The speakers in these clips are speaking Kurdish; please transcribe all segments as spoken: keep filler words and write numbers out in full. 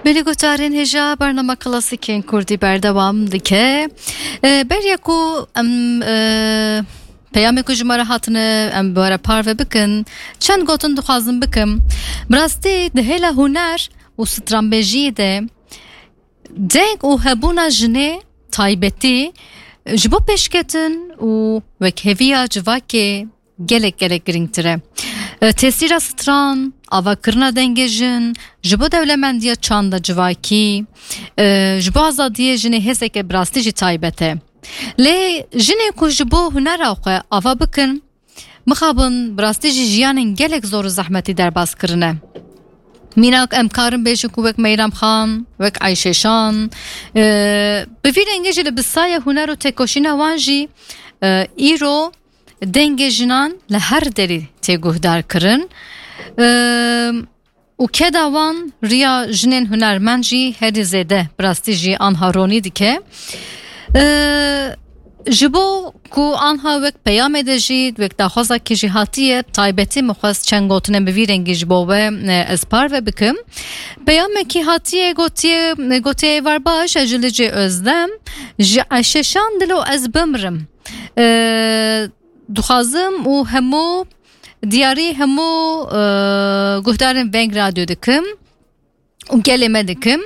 Belê guhdarên hêja, bernama klasîkên kurdî berdewam dike. E, beriya ku em, e, peyamê ku ji me re hatine, em bi we re parve bikin, çend gotin dixwazim bikim. Bi rastî di hêla huner û stranbêjiyê de deng û hebûna jinê taybetî ji bo pêşketin û wekheviya civakê gelek, gelek girîngtir e. E, tesîra stran, avakirina dengê jin, ji bo dewlemendiya çanda civakî, e, ji bo azadiyê jinê hêzeke bi rastî jî taybet e. Lê jinên ku ji bo hunera xwe ava bikin, mixabin bi rastî jî jiyanên gelek zor û zehmetî derbas kirine. Mînak em karin bêjin ku wek Meyrem Xan, wek Ayşe Şan, e, bi vî rengê jî li bi saya huner û têkoşîna wan jî, e, îro dengê jinan li her derî tê guhdar kirin. E, û keda wan riya jinên hunermend jî herî zêde bi rastî jî anha ronî dike. E, ji bo ku anha wek peyamê de jî, wek daxwazakî jî hatiye, taybetî min xwest çend gotinên bi vî rengî ji bo we, e, ez parve bikim. Peyamekî hatiye gotiye, gotiye êvar baş, ez ji Licê Özdem, ji Ayşe Şan dilo ez bimrim. E, dixwazim û hemû diyarî hemû, e, guhdarên Veng Radyo dikim û gelê me dikim.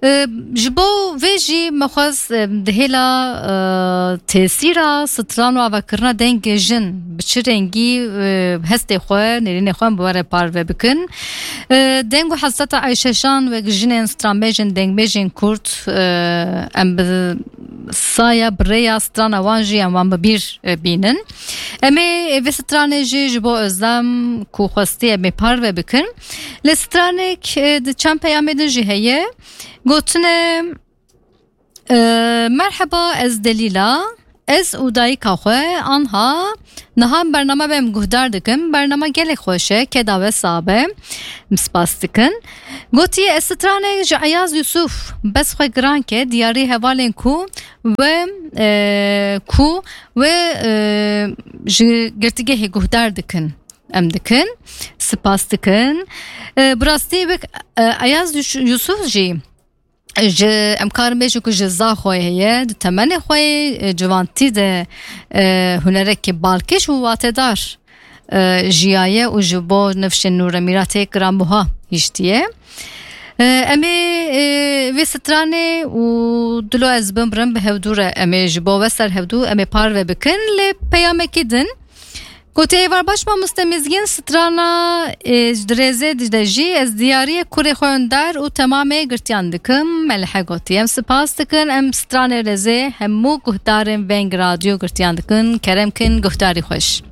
E, ji bo vê jî me xwest, e, di hêla, e, tesîra stran û avakirina dengê jin bi çi rengî, e, hestê xwe, nêrînê xwe em bi we re parve bikin. E, deng û hesreta Ayşe Şan wek jinên stranbêjên, dengbêjên kurd, e, em bi saya bi rêya strana wan jî em wan bi bîr, e, bînin. Em ê vê stranê jî ji bo Özlem ku xwestî em ê parve bikin. Lê stranek, e, di çend peyamê din jî heye. Gotine, e, merheba, ez Delîla. Ez û dayika xwe anha niha bername be em guhdar dikim. Bername gelek xweş e, keda we sax be. Em spas dikin. Gotiye, ez stranek ji Eyaz Yusuf, bes xwe giran ke, diyarî hevalên ku we, e, ku we, e, ji girtîgehê guhdar dikin. Em dikin, spas dikin. E, bi rastî wek, e, Eyaz Yus-, Yusuf jî ji, em karin bêjin ku ji za xwe heye, di temenê xwe yê, e, ciwantî de, e, hunerekî balkêş û watedar, e, jiyaye û ji bo nifşên nû re mîratê giranbuha hiştiye. E, em ê, e, vê stranê û dilo ez bimrim bi hevdû re, em ê ji bo we ser hevdû, em ê parve bikin, lê peyamekî din. Gotiye êvar baş mamoste Mizgîn, strana, e, di rêzê de jî ez diyariyê kurê xwe Önder û temamê girtiyan dikim. Melehe gotiye, em spas dikin, em stranê rêzê hemû guhdarên Veng Radyo girtiyan dikin. Kerem kin, guhdarî xweş.